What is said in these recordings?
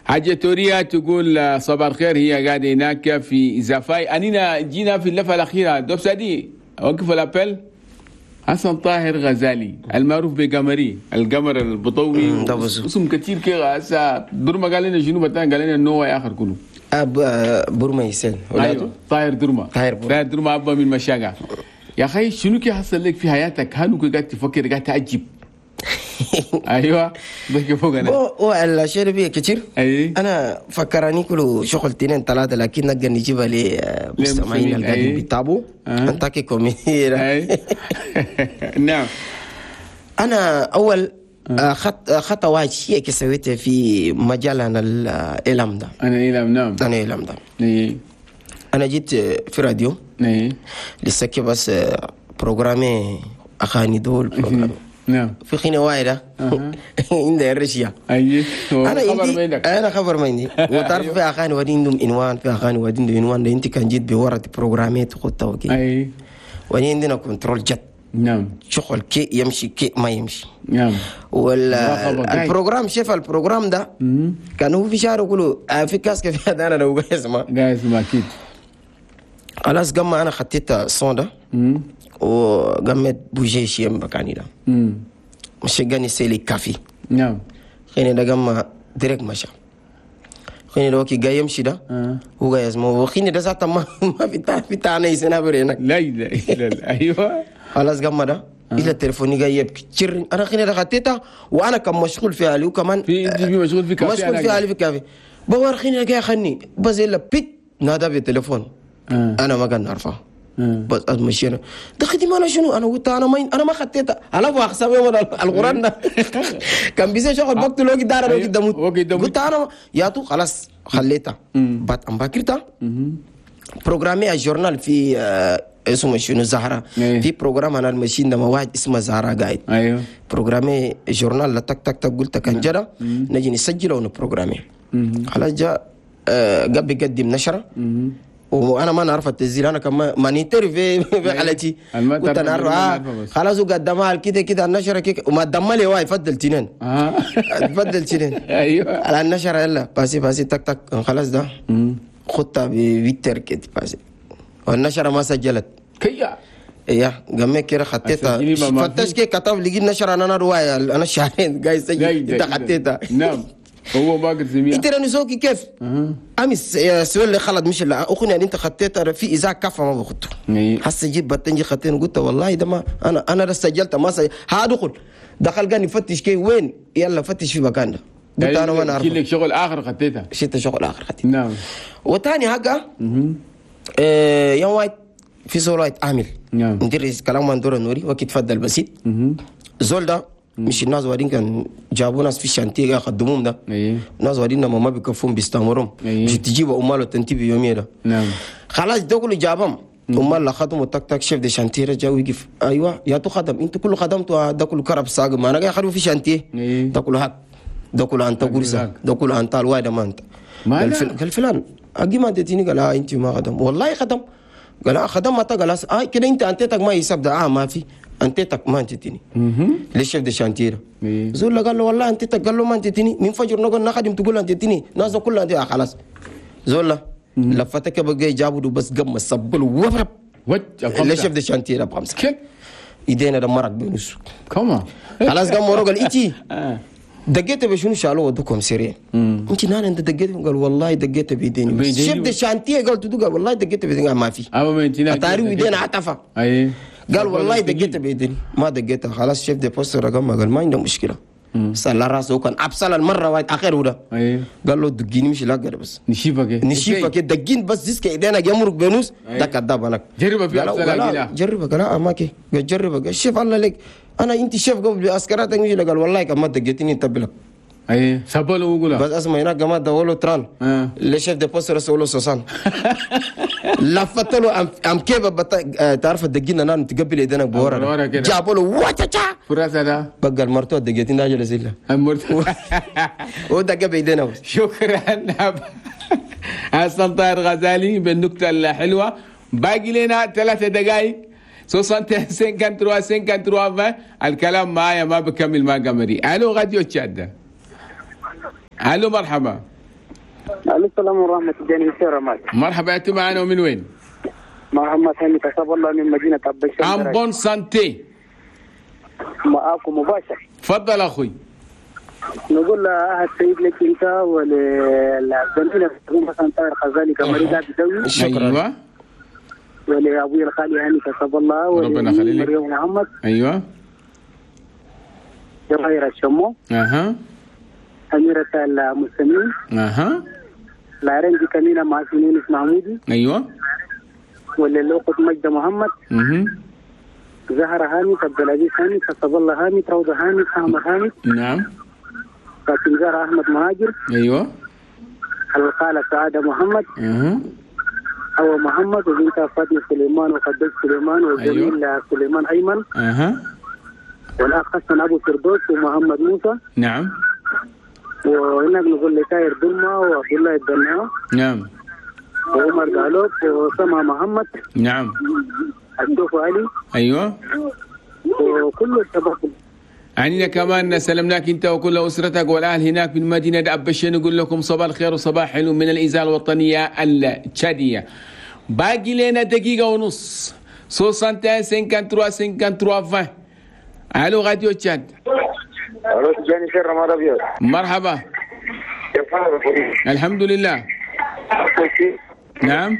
حاجة توريا تقول صباح الخير، هي قاعدة هناك في زفاي. أنينا جينا في اللفة الأخيرة دوب سادي وقف ال appel. حسن طاهر غزالي المعروف بقمري، القمر البطوي، اسم كثير كده. هسه درما قال لنا شنو بتان، قال لنا انه اخر كله اب برما يسن. أيوة. طاهر درما، طاهر درما ابا من مشاقة. يا اخي شنو كي حصل لك في حياتك؟ هل قاعد تفكر قاعد تعجب؟ ايوه ضحك فوق انا. هو الشيء فيه كثير. أي. انا فكراني كله شغل اثنين ثلاثة، لكن نقدر نجيبها للمستمعين اللي قاعدين بيتابعوا. انت كوميدي. نعم. انا اول خطوة واحد شيء سويته في مجال انا الاعلام ده. انا الاعلام. نعم. انا الاعلام ده. انا جيت في راديو. لسه بس programme اغاني دول programme. نعم. في خينة واحدة عندها الرشية. أي. أنا عندي أنا خبر ما عندي. وتعرف في أغاني ودي عندهم عنوان، في أغاني ودي عندهم عنوان. أنت كان جيت بورا بروجرامات خطة وكي. أي. ودي عندنا contrôle جد. نعم. شغل كي يمشي كي ما يمشي. نعم. وال programme شوف ال programme ده كان هو في شهر يقولوا في casque في هذا أنا لو قاعد اسمع. قاعد اسمع أكيد. خلاص قام أنا خطيت ال son ده. وقامت بوجي شيء مكاني ده. مشي قاني سيلي كافي. نعم. خيني ده قام direct مشى. خيني ده وكي جاي يمشي ده. هو جاي يسمع وخيني ده ساعتها ما في تانا يسنا برينك. لا لا لا. أيوة. خلاص قام ده. إلى تليفوني جاي يبكي تشر. أنا خيني ده خطيتها وأنا كان مشغول في علي وكمان. في مشغول في كافي. مشغول في علي في كافي. بوار خيني ده جاي خني بس إلا بيت نادى بالتليفون. أنا ما كان نعرفه. بس مشينا ده خدمة انا شنو؟ انا قلت انا ما انا ما خطيتها على ابو احسب يوم القران ده كان بيسي شغل بقت لو دار لو دموت. قلت انا يا تو خلاص خليتها بات ام باكرتها programme ال journal في اسمه شنو زهره. في programme انا المشين ده واحد اسمه زهره قاعد. ايوه. programme journal تك تك تك قلت كان جرى نجي نسجله ون programmer. خلاص جاء قبل يقدم نشره وانا ما نعرف التسجيل، انا كمان ما نتر في حالتي كنت انا خلاص وقدمها كده كده النشرة كده وما دم لي واي فضل تنين. فضل تنين. ايوه على النشرة يلا باسي باسي تك تك خلاص ده خطه بيتر كده باسي والنشره ما سجلت كيا ايه قام كده خطيتها فتش كده كتب لقيت النشرة انا رواية انا شهرين جاي سجل انت خطيتها. نعم. هو باقر زميل انت راني كيف؟ امس سؤال اللي خلط مش اللي اخونا يعني انت خطيت في اذا كفى ما بخطه. حس جيب بتنجي خطين قلت والله ده ما انا سجلت ما سجلت. هادخل دخل قال يفتش كي وين يلا فتش في مكان ده. قلت انا ما نعرف لك شغل اخر خطيتها شفت شغل اخر خطيتها. نعم. وثاني حاجة يوم واحد في زول واحد عامل. نعم. ندرس كلام مندور النوري وقت تفضل بسيط. زول ده مش الناس وادين كان جابوا ناس في الشانتيه خدموهم ده. ناس وادين ما بيكفون بيستمرهم. مش تجيب امال وتنتبه يوميا ده. نعم. خلاص ده كله جابهم امال لا خدموا تك تك chef de chantier جا ويقف. ايوه يا تو خدم انت كله خدمته ده كله كرب ساق ما انا قاعد خدموا في chantier ده كله هاك ده كله انت قرصة ده كله انت الواحد ما انت. قال فلان اجي ما اديتني. قال انت ما خدم والله خدم. قال خدم ما قال كده انت انتك ما يسب ده ما في انتك ما انتتني. ليش chef de chantier زول قال له والله انتك قال له ما انتتني من فجر نقول نخدم تقول انتتني ناس كلها انت خلاص. زول لفتك بقى جابوا بس قم السبل وفرب ليش chef de chantier بخمسة ايدينا دمرك بنص كما خلاص قام ورا قال انتي دقيت بشنو شالوه ودوكم سريع. انت نان انت دقيت؟ قال والله دقيت بيديني. chef de chantier قال تدق قال والله دقيت بيديني ما في اتاري ايدينا عطفه. اي قال والله دقيت بيدني ما دقيتها. خلاص chef de poste رقم قال ما عنده مشكلة. سال راسه كان ابصل المرة واحد اخر وده. قال له دقيني مش لاقر بس نشيفك نشيفك دقين بس ديسك ايدينا يمرق بنوس ده كذاب انا جربه في ابصل جربه. قال ما كي قال جربه. قال شيف الله لك انا انت شيف قبل عسكراتك مش قال والله كما دقيتني انت بلك. اي سبلو وقولا بس اسمع هناك جماعة دولو تران le chef de poste رسولو soixante لفت له ام كيف تعرف دقينا انا تقبل ايدينا بورا جابوا له واتشا فراسه ده بقى المرتو دقيتين راجل زيلا المرتو ودق بايدينا. شكرا حسن طاهر غزالي بالنكته الحلوة. باقي لنا 3 دقائق 61 53 53 20. الكلام معايا ما بكمل مع قمري. الو راديو تشاد. الو مرحبا. الو السلام ورحمة الله. مرحبا، انتم معنا ومن وين؟ محمد هاني كسب الله من مدينة عبد en bonne santé. معاكم مباشر. تفضل اخوي. نقول لأهل السيد لك انت وللزميل حسن طاهر غزالي كمريض بدوي. شكرا. ايوه. ولابوي الخالي هاني كسب الله. ربنا يخليك. مريم محمد. ايوه. جواهر الشمو. اها. أميرة المسلمين. اها. العرنجي كمينة مع يونس محمودي. ايوه. وللوقت مجد محمد. زهرة هاني، عبد العزيز هاني، كسب الله هاني، روضة هاني، أحمد هاني. نعم. فاطمة زهرة أحمد مهاجر. ايوه. الخالة سعادة محمد. أو محمد، وبنتها فاطمة سليمان وخديجة سليمان والزميل أيوه. سليمان أيمن. والأخ حسن أبو فردوس ومحمد موسى. نعم. وهناك نقول لتاير دمة وعبد الله الدنيا. نعم. وعمر قالوب وسما محمد. نعم. الشوف علي. ايوه. وكل الشباب. عنينا كمان سلمناك انت وكل اسرتك والاهل هناك من مدينة ابشين. نقول لكم صباح الخير وصباح حلو من الاذاعة الوطنية التشاديه. باقي لنا دقيقة ونص. 61 53 53 20. الو راديو تشاد. الو تجاني خير رمضان ابيض. مرحبا. كيف حالك؟ الحمد لله. نعم.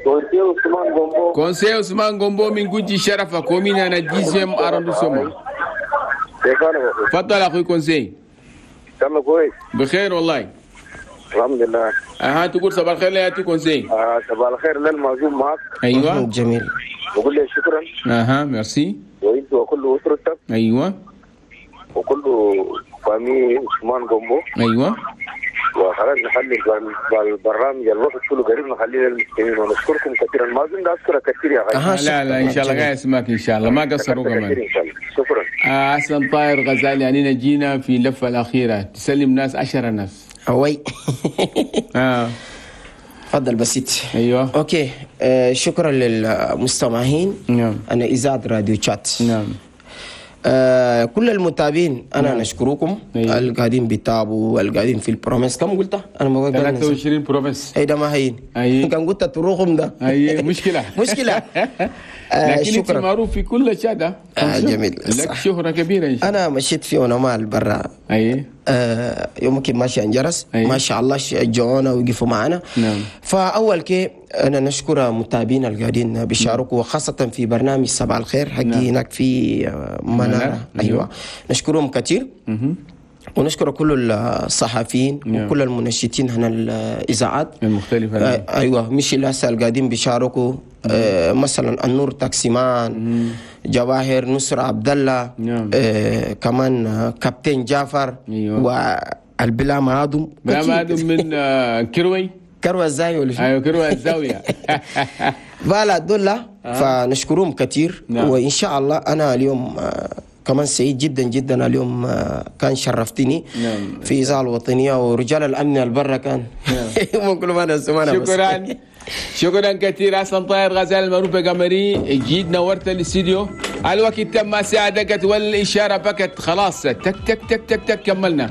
conseiller عثمان غومبو. conseiller عثمان غومبو من جوجي شرفة commune انا dixième arrondissement. كيف حالك؟ تفضل اخوي conseiller. ان شاء الله كويس. بخير والله. الحمد لله. اها تقول صباح الخير يا conseiller. صباح الخير للمعزوم معك. ايوه جميل. بقول لك شكرا. اها ميرسي. وانت وكل اسرتك. ايوه. وكل famille عثمان غومبو. ايوه. وخلاص نخلي البرنامج الوقت كله قريب نخليه للمستمعين ونشكركم كثيرا. ما اظن اشكرك كثير يا غالي. لا لا ان شاء الله قاعد اسمعك ان شاء الله ما قصروا كمان. شكرا. حسن طاهر غزالي، يعني جينا في اللفة الاخيرة تسلم ناس 10 ناس. اوي. تفضل بسيط. ايوه OK. شكرا للمستمعين. نعم. انا اذاعة راديو تشات. نعم. كل المتابعين انا نعم. نشكركم. أيوة. القاعدين بيتابوا القاعدين في ال province. كم قلت انا ما قلت 23 provinces. اي ده ما هين. أي. كم قلت تروحهم ده. اي مشكلة. مشكلة. لكن شكرا. انت معروف في كل شادة. جميل. لك شهره كبيرة إن شاء الله. انا مشيت في ونمال برا. اي. يوم كي ماشي انجرس. أي. ما شاء الله شجعونا وقفوا معنا. نعم. فاول كي انا نشكر متابعينا القاعدين بيشاركوا وخاصة في برنامج صباح الخير حقي. نعم. هناك في منارة. ايوه نشكرهم كثير. ونشكر كل الصحفيين. نعم. وكل المنشطين هنا الاذاعات المختلفة. ايوه مش الناس القاعدين بيشاركوا. مثلا النور تاكسيمان، جواهر نصر عبد الله. نعم. كمان كابتن جعفر. أيوة. والبلا معادم. بلا معادم من كروي. كروي الزاوية ولا شو؟ ايوه كروي الزاوية. voilà دول فنشكرهم كثير. نعم. وان شاء الله انا اليوم كمان سعيد جدا جدا اليوم كان شرفتني. نعم. في اذاعة الوطنية ورجال الامن البرة كان. نعم. كل ما انا شكرا. شكرا كثير حسن طاهر غزال المعروف بقمري. جيت نورت الاستديو. الوقت تم ساعة دقت والإشارة بكت خلاص. تك تك تك تك تك كملنا.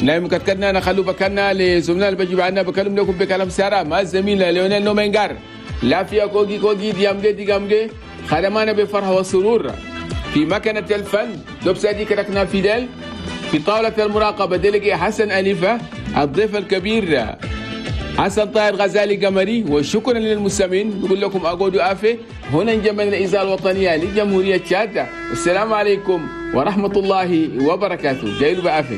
نعم كتكنا نخلو بكنا لزملائنا اللي بيجوا عنا بكلم لكم بكلام سارة مع الزميل ليونيل نومنجار. لا فيها كوجي كوجي ديامجي ديامجي خدمانا بفرحة وسرور في مكنة الفن دوبسادي كركنا فيدل. في طاولة المراقبة ديلقي حسن أليفة الضيف الكبير حسن طاهر غزالي قمري. وشكرا للمستمعين. نقول لكم أقعدوا آفة هنا جمال الإذاعة الوطنية لجمهورية تشاد. السلام عليكم ورحمة الله وبركاته. جايلوا بآفة.